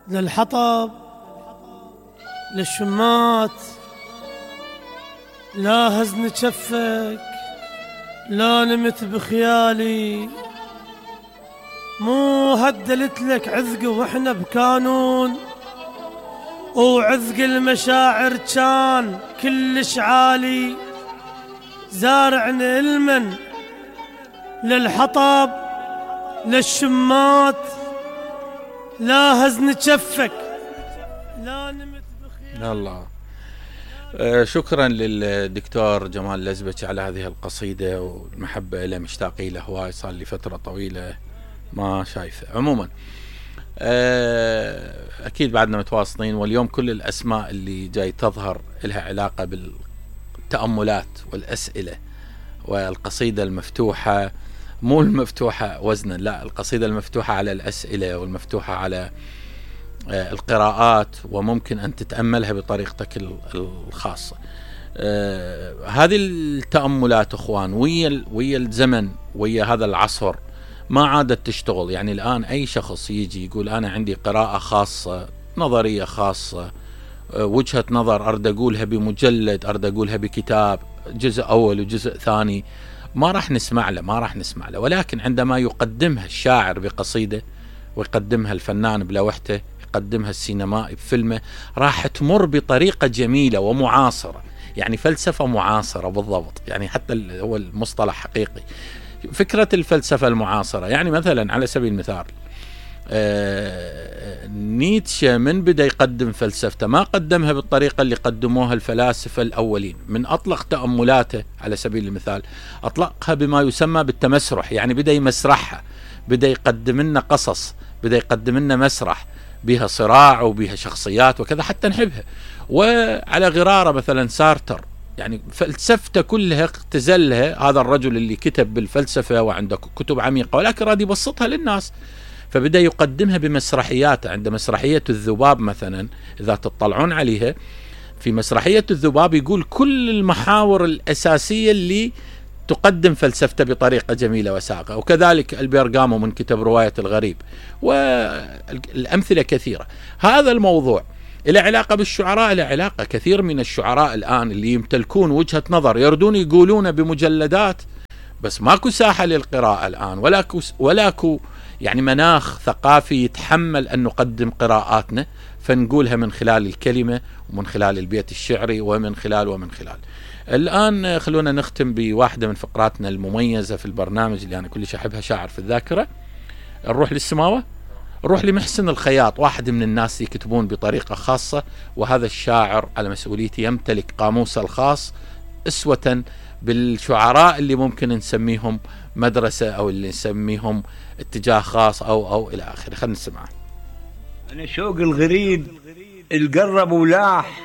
للحطب للشمات، لا هزن جفك لا نمت بخيالي، مو هدلت لك عذق واحنا بكانون، وعذق المشاعر كان كلش عالي. زارعنا المن للحطب للشمات، لا هزن جفك لا نمت بخيالي. الله. شكرا للدكتور جمال الأزبكي على هذه القصيدة، والمحبة له مشتاقي له هواي، صار لي فترة طويلة ما شايفه. عموما أكيد بعدنا متواصلين، واليوم كل الأسماء اللي جاي تظهر لها علاقة بالتأملات والأسئلة، والقصيدة المفتوحة، مو المفتوحة وزنا، لا، القصيدة المفتوحة على الأسئلة والمفتوحة على القراءات، وممكن أن تتأملها بطريقتك الخاصة. هذه التأملات أخوان ويا الزمن، ويا هذا العصر ما عادت تشتغل. يعني الآن أي شخص يجي يقول أنا عندي قراءة خاصة، نظرية خاصة، وجهة نظر أرد أقولها بمجلد، أرد أقولها بكتاب، جزء أول وجزء ثاني، ما راح نسمع له. ولكن عندما يقدمها الشاعر بقصيدة، ويقدمها الفنان بلوحته، يقدمها السينمائي بفيلمه، راح تمر بطريقة جميلة ومعاصرة. يعني فلسفة معاصرة بالضبط، يعني حتى هو المصطلح حقيقي. فكرة الفلسفة المعاصرة، يعني مثلا على سبيل المثال نيتشه من بدأ يقدم فلسفته ما قدمها بالطريقة اللي قدموها الفلاسفة الأولين. من أطلق تأملاته على سبيل المثال أطلقها بما يسمى بالتمسرح، يعني بدأ يمسرحها، بدأ يقدم لنا قصص، بدأ يقدم لنا مسرح بها صراع وبها شخصيات وكذا حتى نحبها. وعلى غرارة مثلا سارتر، يعني فلسفته كلها اختزلها هذا الرجل اللي كتب بالفلسفة وعنده كتب عميقة، ولكن راد يبسطها للناس، فبدأ يقدمها بمسرحيات. عند مسرحية الذباب مثلا، إذا تطلعون عليها، في مسرحية الذباب يقول كل المحاور الأساسية اللي تقدم فلسفته بطريقة جميلة وساقة. وكذلك البيرغامو من كتب رواية الغريب، والأمثلة كثيرة. هذا الموضوع إلى علاقة بالشعراء، إلى علاقة كثير من الشعراء الآن اللي يمتلكون وجهة نظر يردون يقولون بمجلدات، بس ماكو ساحة للقراءة الآن، ولاكو يعني مناخ ثقافي يتحمل أن نقدم قراءاتنا، فنقولها من خلال الكلمة ومن خلال البيت الشعري ومن خلال. الآن خلونا نختم بواحدة من فقراتنا المميزة في البرنامج اللي أنا كلش أحبها، شاعر في الذاكرة. نروح للسماوة، نروح لمحسن الخياط، واحد من الناس يكتبون بطريقة خاصة، وهذا الشاعر على مسؤوليتي يمتلك قاموسه الخاص أسوة بالشعراء اللي ممكن نسميهم مدرسة أو اللي نسميهم اتجاه خاص أو إلى آخره. خلينا نسمعه. أنا شوق الغريب القرب ولاح،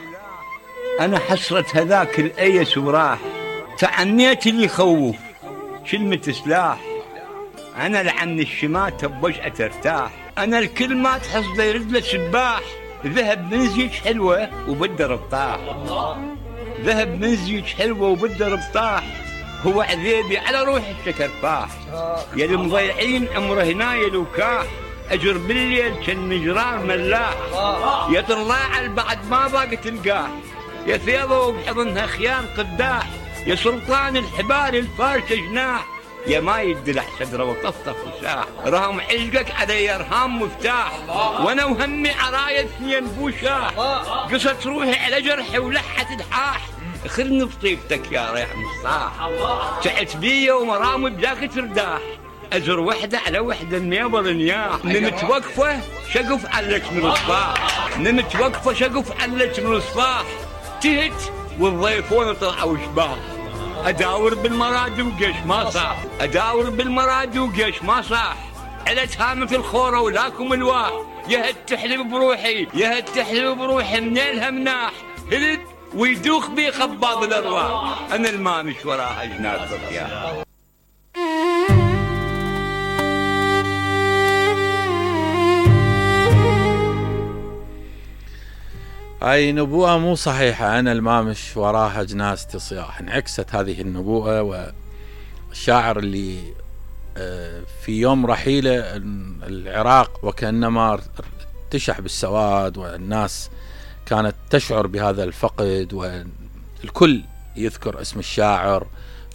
أنا حسرة هذاك الأيس وراح، تعنيت اللي يخوف كلمة سلاح، أنا لعن الشماتة بوجهة ترتاح، أنا الكل ما تحصده يرد له سباح، ذهب من زيج حلوة وبده ربطاح، ذهب من زيج حلوة وبده ربطاح، هو عذيبي على روح الشكرفاح، يا المضيعين عمره هنايل وكاح، أجر بالليل كالمجرار ملاح، يا طلاع بعد ما ضاقت القاح، يا ثيابه وبحضنها خيام قداح، يا سلطان الحبال الفارشة جناح، يا ما يدلع صدره وطفطف وساح، رهم عشقك علي ارهام مفتاح، وانا وهمي عرايا اثنين بوشاح، قصت روحي على جرحي ولحت الحاح، خذني بطيبتك يا ريح مصاح، تعت بيا ومرامي بذاك ترداح، أجر وحدة على وحدة النيبر نياح، نمت وقفة شقف علك من الصباح، نمت وقفة شقف علك من الصباح، تهت والضيفون طلعوا شباح، أداور بالمراد وقش ما صاح، أداور بالمراد وقش ما صاح، علت هامة الخورة ولاكم الواح، يا هد تحلب بروحي يا هد تحلب بروحي منيلها مناح، هلد ويدوخ بي خباض الأرواح، أنا المامش وراها جناد ضياح. هاي نبوءة مو صحيحة، أنا المامش وراها جناز تصياح. انعكست هذه النبوءة، والشاعر اللي في يوم رحيله العراق وكأنما تشح بالسواد، والناس كانت تشعر بهذا الفقد، والكل يذكر اسم الشاعر،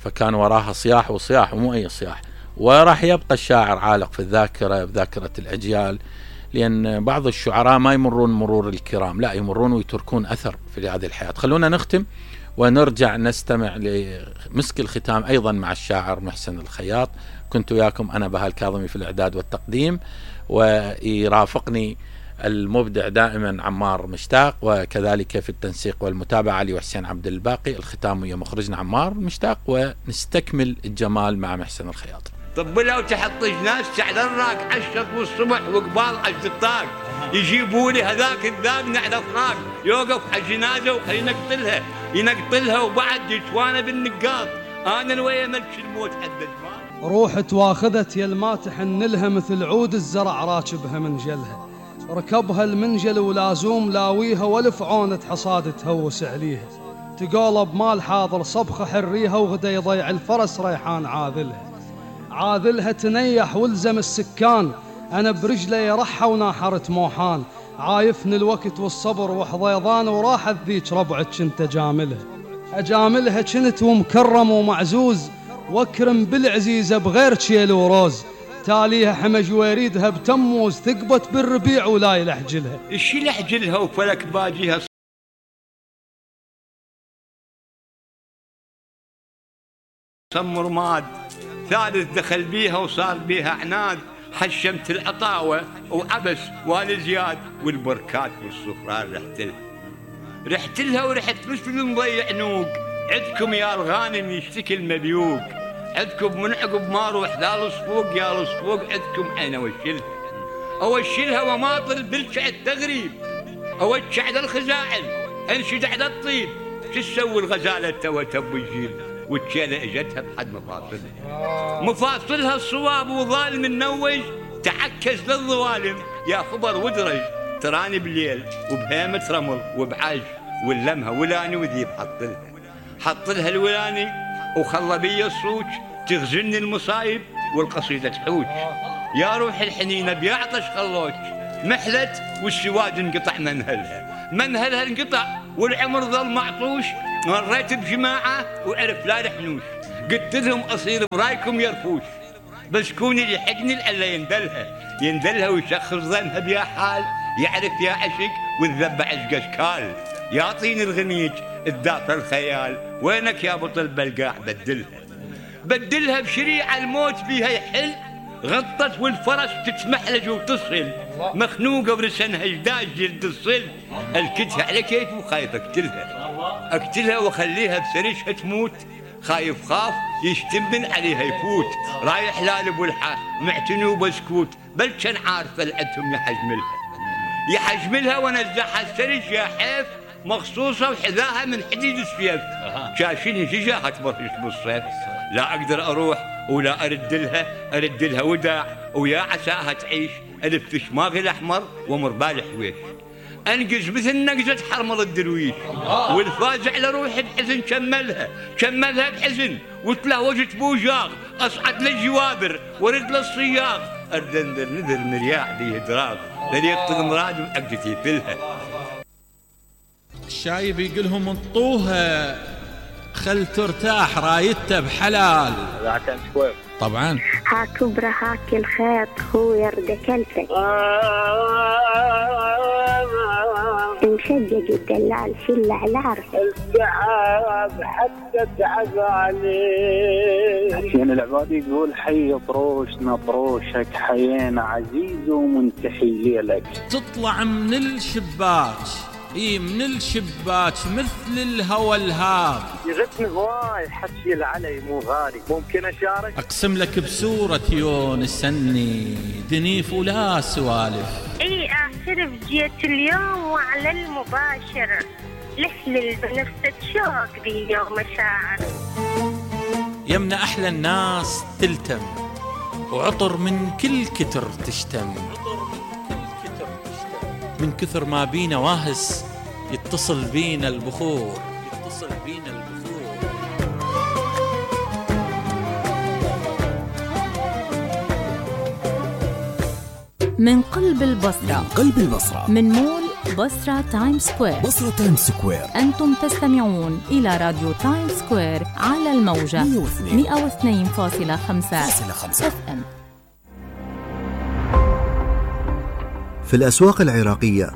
فكان وراها صياح وصياح ومو أي صياح. وراح يبقى الشاعر عالق في الذاكرة، بذاكرة الأجيال، لأن بعض الشعراء ما يمرون مرور الكرام، لا يمرون ويتركون أثر في هذه الحياة. خلونا نختم ونرجع نستمع لمسك الختام أيضا مع الشاعر محسن الخياط. كنت وياكم أنا بهاء الكاظمي في الإعداد والتقديم، ويرافقني المبدع دائما عمار مشتاق، وكذلك في التنسيق والمتابعة علي وحسين عبد الباقي. الختام ويا مخرجنا عمار مشتاق، ونستكمل الجمال مع محسن الخياط. طب لو تحط ناس تعذراك عشت والصبح وقبال عشت الطاق، يجيبوا لي هذاك الذاب نعرف راق، يوقف على الجنازه وينقتلها ينقتلها، وبعد يتوانى بالنقاط. انا الويا ملك الموت حد الجمال. روح تواخذت يا الماتح نلها مثل عود الزرع راكبها منجلها، ركبها المنجل ولازوم لاويها، والف عونة حصاد تهوس عليها، تقولب مال حاضر صبخة حريها، وغدا يضيع الفرس ريحان عاذلها تنيح والزم السكان، أنا برجلي رحة وناحرت موحان، عايفني الوقت والصبر وحضيضان، وراحت ذيك ربعك كنت أجاملها كنت ومكرم ومعزوز، واكرم بالعزيزة بغير شيل وروز، تاليها حمج ويريدها بتموز، ثقبت بالربيع ولا يلحجلها. الشي لحجلها وفلك باجيها صمر ماد، ثالث دخل بيها وصار بيها عناد، حشمت العطاوة وعبس والزياد، والبركات والصفران رحت لها ورحت مثل مضيع نوق، عندكم يا الغانم يشتكي المذيوق، عندكم من عقب ما روح لا الصفوق يا الصفوق، عندكم انا اوشلها وماطل بالشعد تغريب، اوشع على الخزاعل انشد على الطيب، شو تسوي الغزاله تو تب الجيل، والشيله اجتها بحد مفاصلها الصواب وظالم النوج، تعكس للظوالم يا خبر ودرج، تراني بالليل وبهيمة رمل وبعج، واللمها ولاني وذيب حط لها الولاني، وخلى بي الصوج تغزلني المصايب والقصيدة تحوج، يا روح الحنينة بيعطش خلوج، محلت والسواد انقطع منهلها انقطع، والعمر ظل معطوش، مريت بجماعة وعرف لا رحنوش، قلت لهم أصير برايكم يرفوش، بس كوني يحقني لألا يندلها ويشخص ظنها بيا حال، يعرف يا عشق والذب عشق اشكال، يعطيني الغميج الدافع الخيال، وينك يا بطل بلقاع بدلها بشريعة الموت فيها يحل، غطت والفرس تتمحلج وتصل، مخنوقة ورسنها جداج جلد الصل، الكتها على كيف وخايف اقتلها واخليها بسريشها تموت، خاف يشتمن عليها يفوت، رايح لالب والحا معتني وبسكوت، بل كان عارفه لعدهم يحجملها ونزعها السرج يا حيف، مخصوصه وحذاها من حديد السيف، شاشيني شجاها تبرش بالصيف، لا اقدر اروح ولا ارد لها وداع، ويا عساها تعيش الف شماغي الاحمر ومربال حويش، انقز مثل نقزة حرمل الدرويش، والفاز على روحي بحزن كملها بحزن، وتلهوجت بوجاغ اصعد للجوابر ورد للصياغ، اردندر نذر مرياع بيه دراغ، لليقتل مراد وعقدتي فلها. الشايب يقولهم انطوها خل ترتاح رايته بحلال. طبعا هاك برهاك الخيط هو يرد كلفك، مشجج الدلال في العلار، الدعاب حتى تعب عليه، حسين العبادي يقول حي طروشنا طروشك، حيينا عزيز ومنتحي ليلك، تطلع من الشباك من الشباك مثل الهوى الهاب، يغثني هواي حكي العلي مو غالي، ممكن اشارك؟ اقسم لك بسورة يونس سني دنيف ولا سوالف، اي اعترف جيت اليوم وعلى المباشر، لحلل بنفسك شوق ذي يوم مشاعر، يمنا احلى الناس تلتم، وعطر من كل كتر تشتم، من كثر ما بينا واهس يتصل بينا البخور، من قلب البصرة، من قلب البصرة، من مول بصرة تايم سكوير. بصرة تايم سكوير. أنتم تستمعون إلى راديو تايم سكوير على الموجة 102.5 FM. في الأسواق العراقية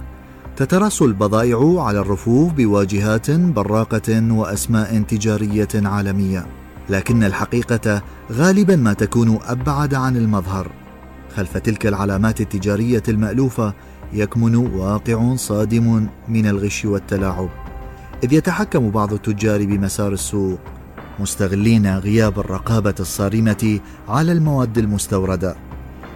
تترص البضائع على الرفوف بواجهات براقة وأسماء تجارية عالمية، لكن الحقيقة غالبا ما تكون أبعد عن المظهر. خلف تلك العلامات التجارية المألوفة يكمن واقع صادم من الغش والتلاعب، إذ يتحكم بعض التجار بمسار السوق مستغلين غياب الرقابة الصارمة على المواد المستوردة.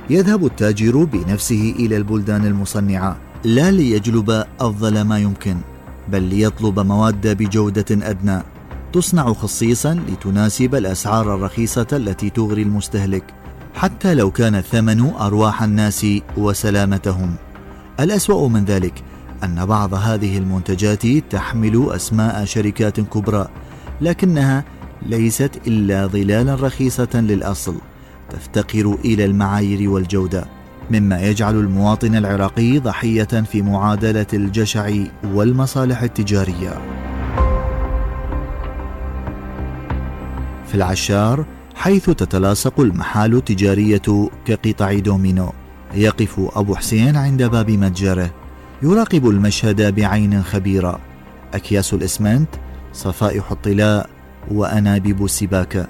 يذهب التاجر بنفسه إلى البلدان المصنعة لا ليجلب أفضل ما يمكن، بل ليطلب مواد بجودة أدنى تصنع خصيصا لتناسب الأسعار الرخيصة التي تغري المستهلك، حتى لو كان الثمن أرواح الناس وسلامتهم. الأسوأ من ذلك أن بعض هذه المنتجات تحمل أسماء شركات كبرى، لكنها ليست إلا ظلالا رخيصة للأصل تفتقر إلى المعايير والجودة، مما يجعل المواطن العراقي ضحية في معادلة الجشع والمصالح التجارية. في العشار، حيث تتلاصق المحال التجارية كقطع دومينو، يقف أبو حسين عند باب متجره يراقب المشهد بعين خبيرة. أكياس الإسمنت، صفائح الطلاء، وأنابيب السباكة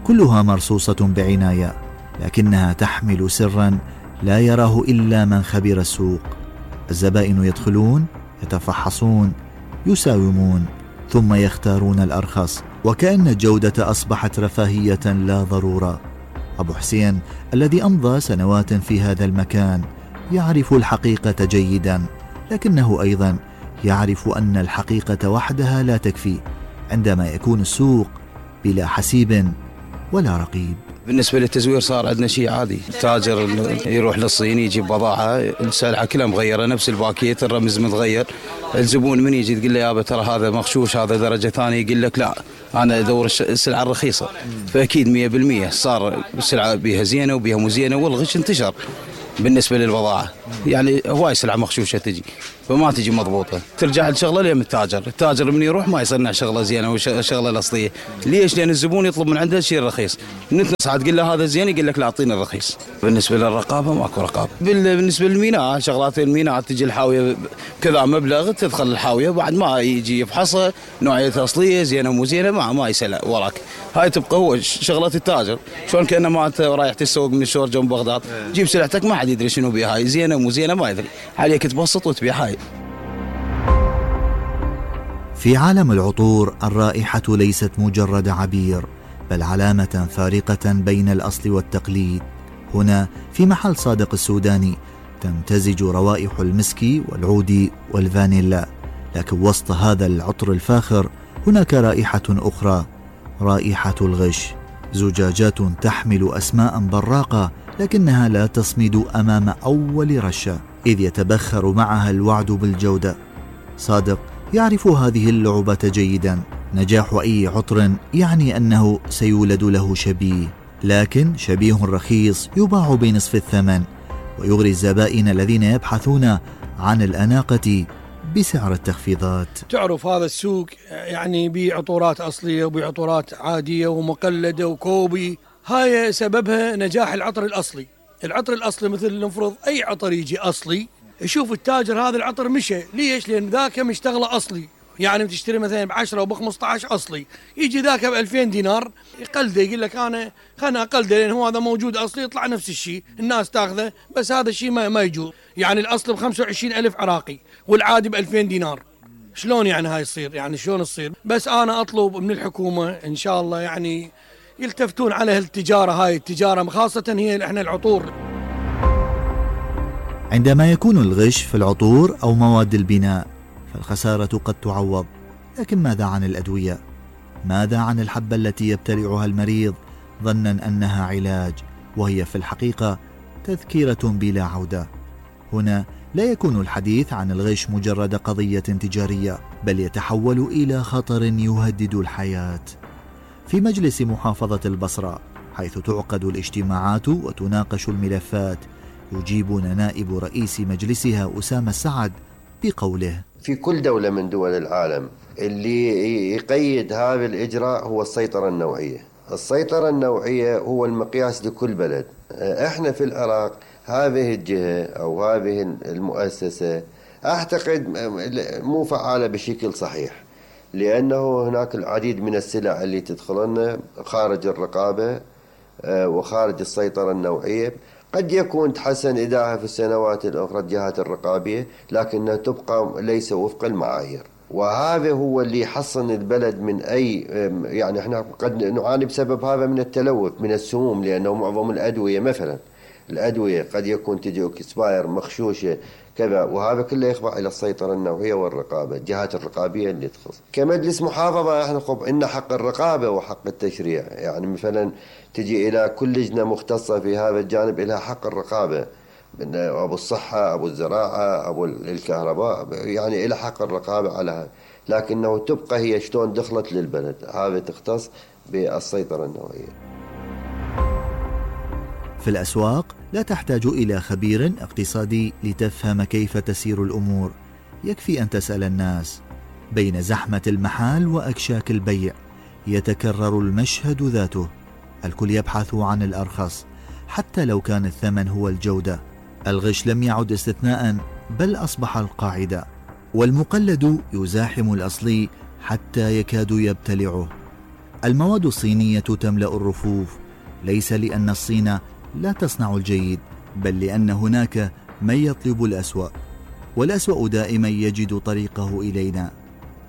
كلها مرصوصة بعناية، لكنها تحمل سرا لا يراه إلا من خبر السوق. الزبائن يدخلون، يتفحصون، يساومون، ثم يختارون الأرخص، وكأن الجودة أصبحت رفاهية لا ضرورة. أبو حسين الذي أمضى سنوات في هذا المكان يعرف الحقيقة جيدا، لكنه أيضا يعرف أن الحقيقة وحدها لا تكفي عندما يكون السوق بلا حسيب ولا رقيب. بالنسبة للتزوير صار عندنا شيء عادي، التاجر يروح للصين يجيب بضاعة السلعة كلها مغيرة، نفس الباكيت الرمز متغير، الزبون من يجي تقول له يابا ترى هذا مغشوش، هذا درجة ثانية، يقول لك لا أنا أدور السلعة الرخيصة. فأكيد 100% صار السلعة بيها زينة وبيها مو زينة، والغش انتشر بالنسبة للبضاعة. يعني هواي سلعة مغشوشة تجي فما تجي مضبوطة، ترجع الشغلة لين التاجر من يروح ما يصنع شغلة زينة وشغلة الأصلية. ليش؟ لأن الزبون يطلب من عنده الشيء الرخيص، نتنصح تقول له هذا زين يقول لك لا أعطينا الرخيص. بالنسبة للرقابة ماكو رقابة. بالنسبة للميناء، شغلات الميناء تجي الحاوية كذا مبلغ، تدخل الحاوية بعد ما يجي يفحصها نوعية أصلية زينة مو زينة ما يسأل وراك. هاي تبقى هو شغلة التاجر، شلون كأنما أنت رايح تسوق من الشور جنب بغداد، جيب سلعتك ما حد يدري شنو بيها، هاي زينة مو زينة ما يدري، عليك تبسط وتبيع. هاي في عالم العطور الرائحة ليست مجرد عبير، بل علامة فارقة بين الأصل والتقليد. هنا في محل صادق السوداني تمتزج روائح المسك والعود والفانيلا، لكن وسط هذا العطر الفاخر هناك رائحة أخرى، رائحة الغش. زجاجات تحمل أسماء براقة لكنها لا تصمد أمام أول رشة، إذ يتبخر معها الوعد بالجودة. صادق يعرف هذه اللعبة جيدا. نجاح أي عطر يعني أنه سيولد له شبيه، لكن شبيه رخيص يباع بنصف الثمن ويغري الزبائن الذين يبحثون عن الأناقة بسعر التخفيضات. تعرف هذا السوق يعني بعطورات أصلية وبعطورات عادية ومقلدة وكوبي، هاي سببها نجاح العطر الأصلي. العطر الأصلي مثل نفرض أي عطر يجي أصلي، يشوف التاجر هذا العطر مشى، ليش؟ لأن ذاك مشتغله أصلي، يعني بتشتري مثلا ب10 وب15 أصلي، يجي ذاك ب2000 دينار يقلده، يقول لك أنا خلنا أقلده لأن هو هذا موجود أصلي، يطلع نفس الشيء الناس تاخذه، بس هذا الشيء ما يجوز. يعني الأصل ب25,000 عراقي والعادي ب2000 دينار، شلون يعني هاي يصير؟ يعني شلون تصير؟ بس أنا أطلب من الحكومة إن شاء الله يعني يلتفتون على هالتجارة، هاي التجارة خاصة هي إحنا العطور. عندما يكون الغش في العطور أو مواد البناء فالخسارة قد تعوض، لكن ماذا عن الأدوية؟ ماذا عن الحبة التي يبتلعها المريض ظنا أنها علاج وهي في الحقيقة تذكرة بلا عودة؟ هنا لا يكون الحديث عن الغش مجرد قضية تجارية، بل يتحول إلى خطر يهدد الحياة. في مجلس محافظة البصرة حيث تعقد الاجتماعات وتناقش الملفات، يجيبنا نائب رئيس مجلسها أسامة السعد بقوله: في كل دولة من دول العالم اللي يقيد هذا الإجراء هو السيطرة النوعية. السيطرة النوعية هو المقياس لكل بلد. احنا في العراق هذه الجهة أو هذه المؤسسة أعتقد مو فعالة بشكل صحيح، لأنه هناك العديد من السلع اللي تدخلنا خارج الرقابة وخارج السيطرة النوعية. قد يكون تحسن إداها في السنوات الأخرى الجهات الرقابية، لكنها تبقى ليس وفق المعايير، وهذا هو اللي يحصن البلد من أي يعني احنا قد نعاني بسبب هذا من التلوث من السموم، لأنه معظم الأدوية مثلا الأدوية قد يكون تجي اكسباير مخشوشة كذا، وهذا كله يخضع إلى السيطرة النوعية والرقابة، الجهات الرقابية اللي تخص. كمجلس محافظة احنا إن حق الرقابة وحق التشريع، يعني مثلا تجي إلى كل لجنة مختصة في هذا الجانب إلى حق الرقابة، أبو الصحة أبو الزراعة أبو الكهرباء، يعني إلى حق الرقابة على هذا، لكنه تبقى هي شلون دخلت للبلد، هذا تختص بالسيطرة النوعية. في الأسواق لا تحتاج إلى خبير اقتصادي لتفهم كيف تسير الأمور، يكفي أن تسأل الناس. بين زحمة المحال وأكشاك البيع يتكرر المشهد ذاته، الكل يبحث عن الأرخص حتى لو كان الثمن هو الجودة. الغش لم يعد استثناء بل أصبح القاعدة، والمقلد يزاحم الأصلي حتى يكاد يبتلعه. المواد الصينية تملأ الرفوف، ليس لأن الصين لا تصنع الجيد، بل لأن هناك من يطلب الأسوأ، والأسوأ دائما يجد طريقه إلينا.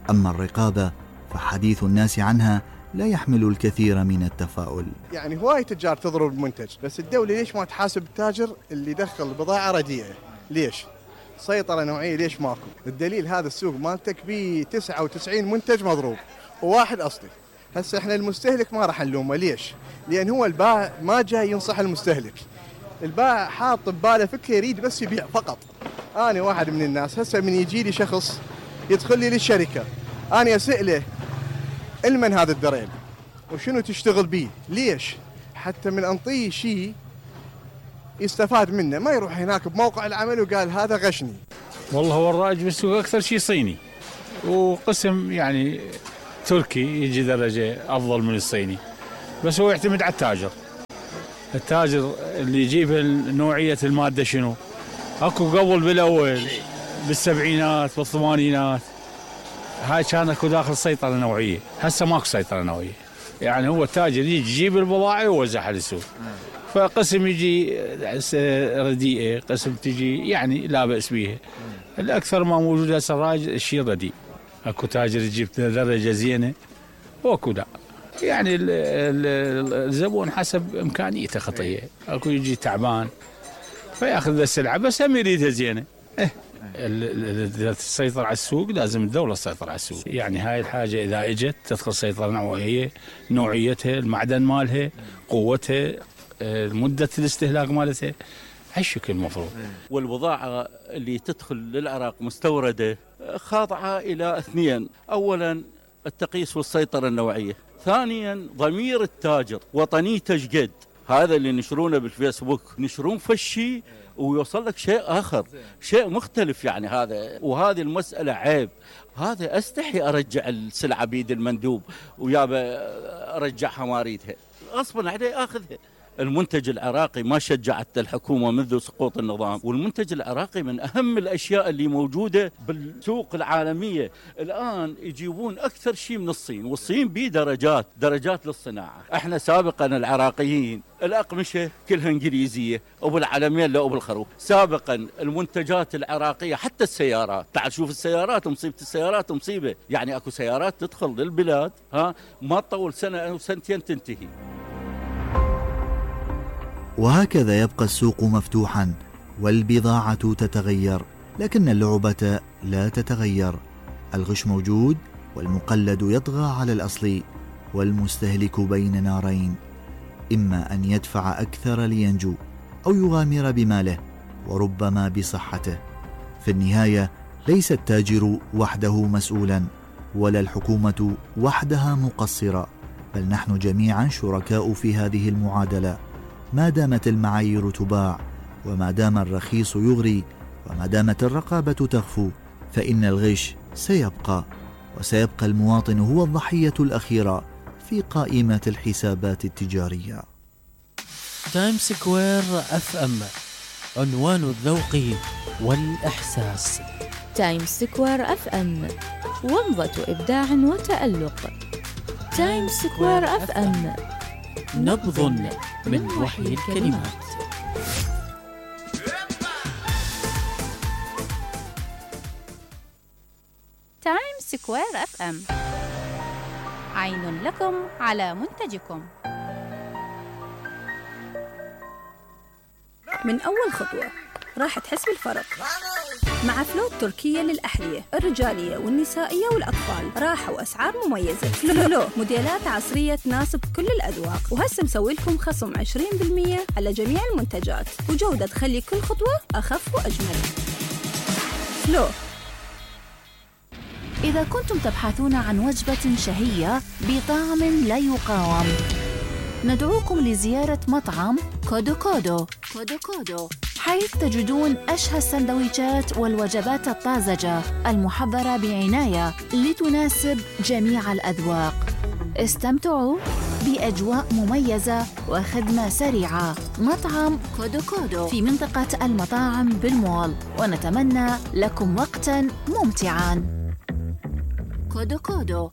أما الرقابة فحديث الناس عنها لا يحمل الكثير من التفاؤل. يعني هواي تجار تضرب المنتج، بس الدولة ليش ما تحاسب التاجر اللي دخل بضاعة رديئة؟ ليش؟ سيطرة نوعية ليش ماكو؟ الدليل هذا السوق مالتك بيه 99 منتج مضروب وواحد أصلي. هسه احنا المستهلك ما راح نلومه، ليش؟ لأن هو البائع ما جاي ينصح المستهلك، البائع حاط بباله فكرة يريد بس يبيع فقط. أنا واحد من الناس هسه من يجي لي شخص يدخل لي للشركة، أنا أسأله المن هذا الدريل وشنو تشتغل بيه؟ ليش؟ حتى من أنطيه شيء يستفاد منه، ما يروح هناك بموقع العمل وقال هذا غشني. والله هو الرائج بالسوق أكثر شيء صيني، وقسم يعني تركي يجي درجة أفضل من الصيني، بس هو يعتمد على التاجر اللي يجيب نوعية المادة شنو. أكو قبل بالأول بالسبعينات بالثمانينات هاي كان أكو داخل سيطرة نوعية، هسه ماكو سيطرة نوعية، يعني هو التاجر يجي يجيب البضاعة ويوزعها للسوق، فقسم يجي رديئة، قسم تجي يعني لا بأس بيها. الأكثر ما موجود هسه الراجل الشيء رديء، أكو تاجر يجيب درجة زينة وأكو لا، يعني الزبون حسب إمكانيته خطية، أكو يجي تعبان فيأخذ السلعة بس هم يريدها زينة. السيطرة على السوق لازم الدولة تسيطر على السوق، يعني هاي الحاجة إذا إجت تدخل سيطرة نوعية، نوعيتها، المعدن مالها، قوتها، مدة الاستهلاك مالتها، هالشكل المفروض. والبضاعة اللي تدخل للعراق مستوردة خاضعة إلى اثنين: أولا التقييس والسيطرة النوعية، ثانيا ضمير التاجر وطنيته شقد. هذا اللي نشرونه بالفيسبوك نشرون فشي ويوصل لك شيء آخر، شيء مختلف، يعني هذا وهذه المسألة عيب. هذا أستحي أرجع السلعة بيد المندوب ويابا أرجعها ما أريدها، غصبا عليه أخذها. المنتج العراقي ما شجعت الحكومة منذ سقوط النظام، والمنتج العراقي من أهم الأشياء اللي موجودة بالسوق العالمية. الآن يجيبون أكثر شيء من الصين، والصين بيه درجات للصناعة. احنا سابقا العراقيين الأقمشة كلها إنجليزية وبالعلمين لا وبالخروف. سابقا المنتجات العراقية حتى السيارات، تعال شوف السيارات، مصيبة السيارات مصيبة، يعني أكو سيارات تدخل للبلاد ما تطول سنة أو سنتين تنتهي. وهكذا يبقى السوق مفتوحا والبضاعة تتغير، لكن اللعبة لا تتغير. الغش موجود والمقلد يطغى على الأصلي، والمستهلك بين نارين، إما أن يدفع أكثر لينجو أو يغامر بماله وربما بصحته. في النهاية ليس التاجر وحده مسؤولا، ولا الحكومة وحدها مقصرة، بل نحن جميعا شركاء في هذه المعادلة. ما دامت المعايير تباع وما دام الرخيص يغري وما دامت الرقابة تخفو فإن الغش سيبقى، وسيبقى المواطن هو الضحية الأخيرة في قائمة الحسابات التجارية. تايم سكوير FM، عنوان الذوق والإحساس. تايم سكوير FM، ومضة إبداع وتألق. تايم سكوير FM، نبض من وحي الكلمات. تايم سكوير FM، عين لكم على منتجكم. من أول خطوة راح تحس بالفرق مع فلو التركية للأحذية الرجالية والنسائية والأطفال. راحة وأسعار مميزة. فلو موديلات عصرية تناسب كل الأذواق، وهسه مسوي لكم خصم 20% على جميع المنتجات، وجودة تخلي كل خطوة أخف وأجمل. فلو. إذا كنتم تبحثون عن وجبة شهية بطعم لا يقاوم، ندعوكم لزيارة مطعم كودو كودو، حيث تجدون أشهى السندويشات والوجبات الطازجة المحضرة بعناية لتناسب جميع الأذواق. استمتعوا بأجواء مميزة وخدمة سريعة. مطعم كودو كودو في منطقة المطاعم بالمول، ونتمنى لكم وقتاً ممتعاً. كودو كودو.